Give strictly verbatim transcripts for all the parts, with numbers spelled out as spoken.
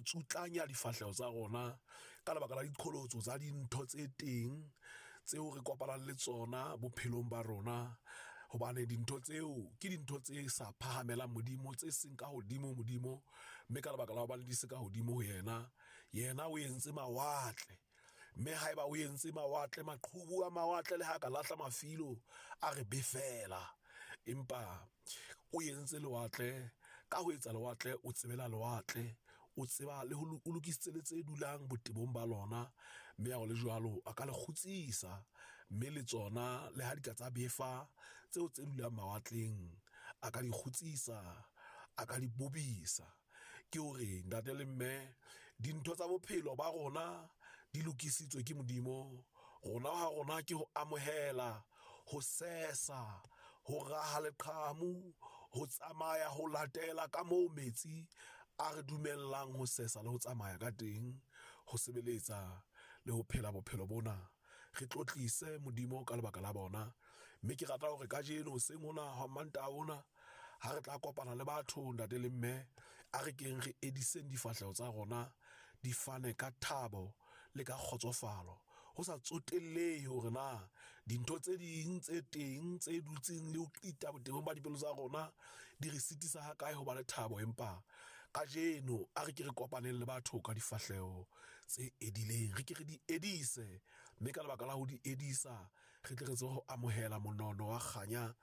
tsutlanya difahleho tsa rona ka lebaka la diqholotso tsa dintho tse teng tseo re kopanang le tsona bophelong ba rona, hobane dintho tseo ke dintho tse sa phahamelang Modimo, tse seng ka hodimo Modimo, mme ka lebaka la hobane di se ka hodimo ho yena, yena o entse mawatle. Mme haeba o entse mawatle, maqhubu a mawatle le ha ka lahla mafilo a re befela, empa o entse lewatle. Ka ho etsa lewatle, o tsebela lewatle, o tseba le ho o lokisitse le tse dulang botebong ba lona, mme ha ho le jwalo a ka le kgutsisa, mme le tsona le ha di ka tsa befa tseo tse dulang mawatleng, a ka di kgutsisa, a ka di bobisa. Ke hore ntate le mme, dintho tsa bophelo ba rona di lokisitswe ke Modimo. Rona ha rona ke ho amohela, ho sesa, ho raha leqhamu, ho tsamaya, ho latela ka moo metsi a re dumellang ho sesa le ho tsamaya ka teng, ho sebeletsa le ho phela bophelo bona. Re tlotlise Modimo ka lebaka la bona. Mme ke rata hore kajeno hoseng hona ha Mantaha ona, ha re tla kopana le batho ntate le mme, a re keng re ediseng difahleho tsa rona, di fane ka thabo le ka kgotsofalo, ho sa tsotellehe hore na dintho tse ding tse teng tse dutseng le ho qita botebong ba dipelo tsa rona di re sitisa ha kae ho ba le thabo. Empa kajeno a re ke re kopaneng le batho ka difahleho tse edileng, re ke re di edise, mme ka lebaka la ho di edisa re tle re tsebe ho amohela monono wa kganya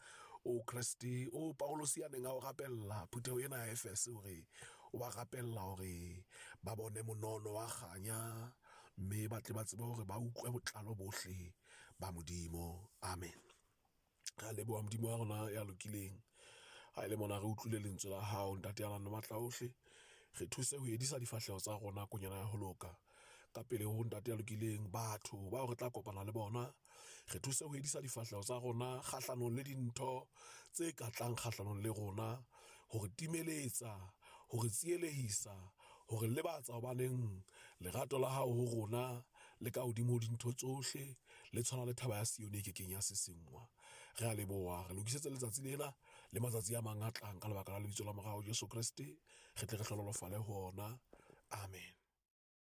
o Kreste o Paulus ya neng a o rapella phutheho ena ya Efese, hore o ba rapella hore ba bone monono wa kganya, mme ba tle ba tsebe hore ba utlwe botlalo bohle ba Modimo. Amen. Re a leboha Modimo wa rona ya lokileng. Ha e le mona re utlwile lentswe la hao ntate ya nang le matla ohle, re thuse ho edisa difahleho tsa rona konyana ya ho loka ka pele ho ntate ya lokileng batho bao re tla kopana le bona. Re thuse ho edisa difahleho tsa rona kgahlanong le dintho tse ka tlang kgahlanong le rona, hore timeletsa, hore tsielehisa, hore lebatsa, hobaneng lerato la hao ho rona le ka hodimo ho dintho tsohle, le tshwana le thaba ya Sione e kekeng ya sesengwa. Re a leboha, re lokisetse letsatsi lena le matsatsi a mang a tlang ka lebaka la lebitso la morao Jesu Kreste, re tle re hlohonolofale ho ona. Amen.